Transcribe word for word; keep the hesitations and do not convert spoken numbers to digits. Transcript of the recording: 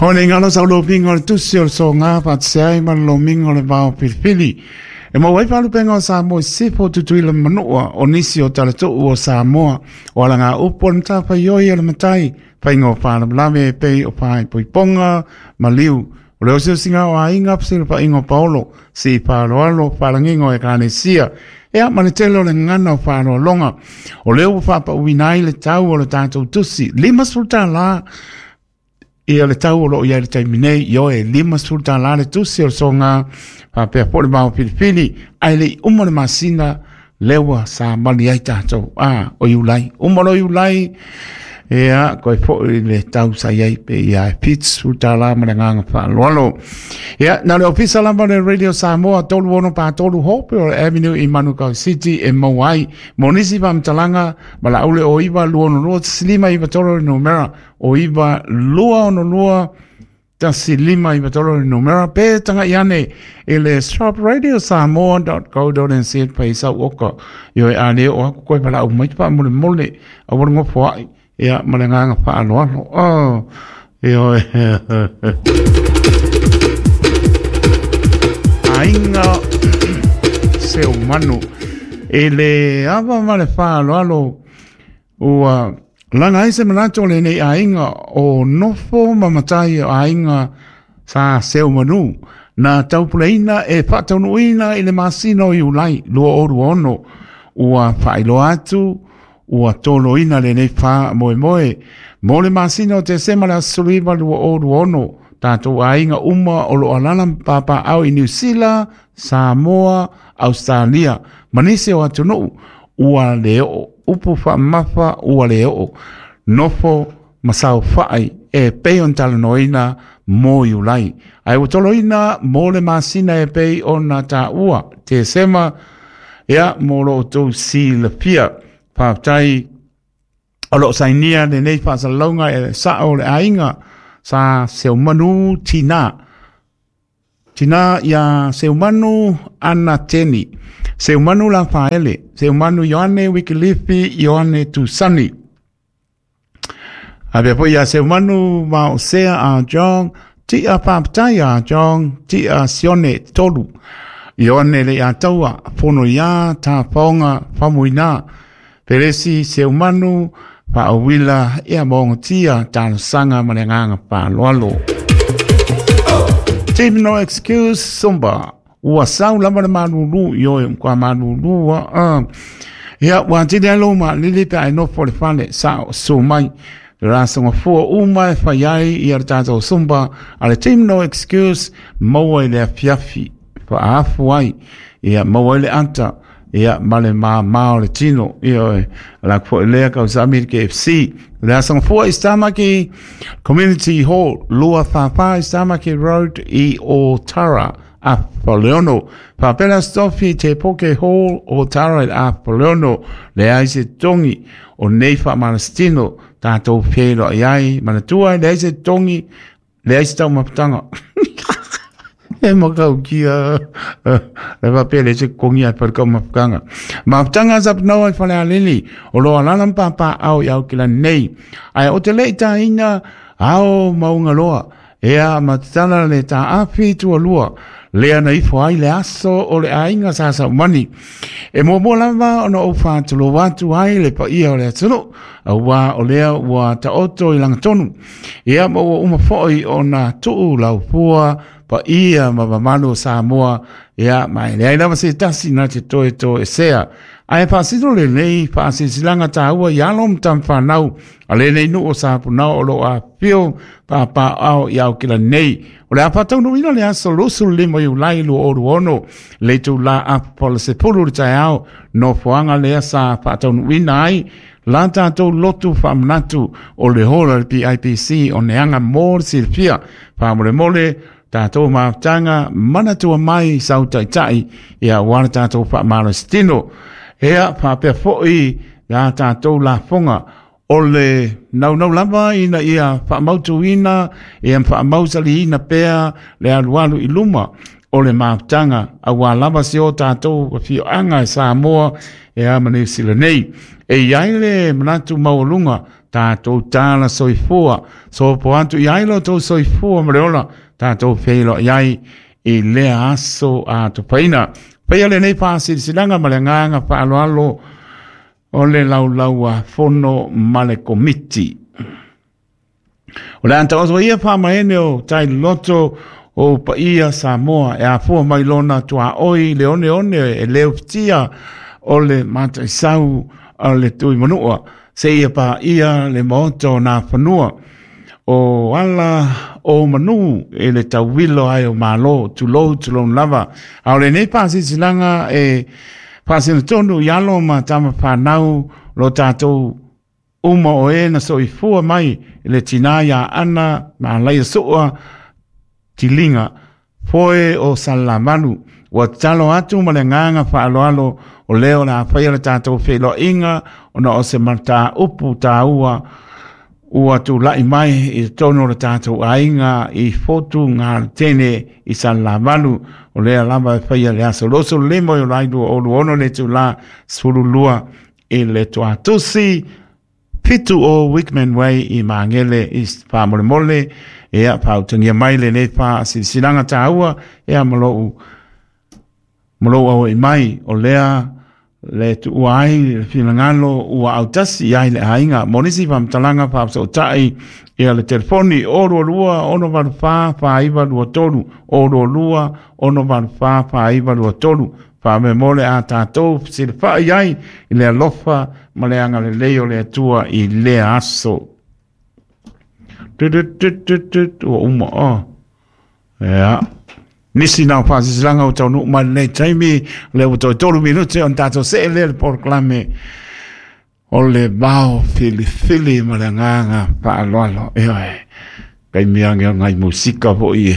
O le ngalo sa lo pingo le tusi o le songa patsai ma lo mingo le vao pilipili. E mau ai palupenga o Samoa i sifo tutuila manua o nisi o talato'u o Samoa o alaga upu o le matafaioi o le matai faiga o faalavelave e pei o faaipoipoga ma liu o le osiosiga o aiga fesilafaiga o paolo si faaaloalo faalagiga o ekalesia ea ma le tele o le gagana o faaaloaloga o lea ua faapauina ai le tau o le tatou tusi limasefulu tālā ia le tau o loo iai le taimi nei ioe limasefulu tālā le tusi o le soga faapea foʻi le vao filifili ae leʻi uma le masina lea ua samali ai tatou a o Iulai uma lo Iulai ia koe foʻi le tau sa iai pe ia e fitusefulu tālā ma le agaga faaaloalo ia na le ofisa lava le Radio Samoa tolu ono patolu Hope Avenue i Manukau City e maua ai mo nisi faamatalaga ma laule o iva lua ono lua tasi lima iva tolu le numera o iva lua ono lua tasi lima iva tolu le numera pe taga'i ane i le shop radio samoa dot co dot nz paisa uoka ioe a le oo aku koe valaau mai faamolemole aua le gofoaʻi ia ma le agaga faaaloalo oh ioe aiga seumanu e le ava ma le faaaloalo ua laga ai se manatu o lenei aiga o nofo ma matai o aiga sa seumanu na taupuleina e faataunuuina i le masina o Iulai lua o lua ono ua faailoa atu ua toloina lenei faamoemoe mo le masina o Tesema le aso sefuluiva lua o lua ono tatou aiga uma o loo alala ma papaao i Niu Sila, Samoa, Australia ma nisi o atunuu ua le oo upu faamamafa ua le oo nofo ma saofaʻai e pei ona talanoaina mo Iulai ae ua toloina mo le masina e pei ona taua Tesema ia mo lo outou silafia faafetai o loo sainia lenei faasalalauga e sao o le aiga sa seumanu tina tina ia Seumanu Anateni Seumanu Lafaele Seumanu Ioane Wikilifi Ioane Tusani Apea foi ia Seumanu Maosea a John Tia faafetai a John Tia Sione Tolu Ioane le Ataua Fono ia Tafaoga Famuina Peresi Seumanu Faauila ia maogatia talosaga ma le agaga faaaloalo. Team No Excuse Zumba ua sau lava le malulu ioe kwa malulu a ia ua tili ai lou maalili pe ae nofo le fale sao su mai le rasoga fua uma e fai ai ia le tatou Zumba a le Team No Excuse maua i le afiafi faaafu ai ia maua ai le ata ia ma le māmā o le tino ioe ala foʻi lea kausami i le K F C le asoga fua i Stamaki Community Hall lua fāfā i Stamaki Road i Otara Apoleono faapea Stofi Te Poke Hall Otara i Apoleono leai se togi o nei faamalositino tatou feloai ai manatua leai se togi leai se taumafataga e makaukia le faapea leai se kogi ae fai le kaumafutaga mafutaga sapanoa i Falealili o loo alala ma papaao i Aukilani nei ae o te leʻi taina ao maugaloa ea matatala le taafi tualua lea na ifo ai le aso o le aiga sa saumani e muamua lava ona ou faatulou atu ai le paia o le atunuu auā o lea ua taoto i lagatonu ia ma ua uma foʻi ona tuu laufua paia ma mamalu o Samoa ia ma e leai lava se tasi na te toe toesea ae faasino lenei faasilasilaga taua i alo ma tamafanau a lenei nuu o Sapunao o loo afifio papaao i Aukilani nei o le a faataunuuina le aso luasefulu lima Iulai lua o lua ono le itulā apapola sepulu le taeao nofoaga lea sa faataunuuina ai la tatou lotu faamanatu o le hola le P I P C o neaga mo le silafia faamolemole tatou mafutaga manatua mai sau taitai ia ua le tatou faamalositino ea faapea foʻi la tatou lafoga o le naunau lava ina ia faamautuina ia faamausaliina pea le alualu i luma o le mafutaga auā lava se o tatou afioaga e Samoa e a ma Niu Sila nei e iai le manatu maualuga Tātou tāla soifua, so po atu i ai lo tō soifua ma le ola, tātou wheilo i ai i lea aso a tupaina. Paia le nei whaasirisilanga ma le ngānga whaaloalo o le laulaua fono ma le komiti. O le anta oso ia whaamaene o tai loto o paia Samoa e afua mai lona tua oi le one one e leo fitia o le mataisau o le tui manua. Se ia pa ia le maoto nā whanua o ala o manu e le tauwilo ai o malo tulou tulou lava. A o le nei pāsisilanga e pāsina tonu i alo ma tama whanau lo tātou uma o e na soifua mai le tina ia ana ma laia soa tilinga foe o salamanu. Ua talo atu ma le nganga whaaloalo o leo la whaia le tātou wheloinga o na o se mata upu tāua ua tu lai mai i tono le tātou ainga i fotu ngā tene i salamanu o lea lava e whaia le aso loso lemo i o lai lua olu ono le tu la sfulu i le tuatusi pitu o Wickman Way i Mangele i whamolemole e a pautangia mai le nei wha silisilanga tāua e a malou malou au i mai o lea le tuua ai le finangalo ua autasi ai le ainga monisi whamtalanga whaapsautai ia le telefoni o rua rua ono valu wha wha iwa lua tolu o rua rua ono valu wha wha iwa lua tolu wha mole a tātou silawhai ai i le alofa ma le anga le leo le atua i le aso. Ua uma o. Ea. Nisi nā whasisilanga o tau nuu mai nei taimi le ua toi tolu minute on tātou se le le poroklame o le vao filifili ma le nganga whaaloalo. Ea e. Kai miange o ngai musika po i e.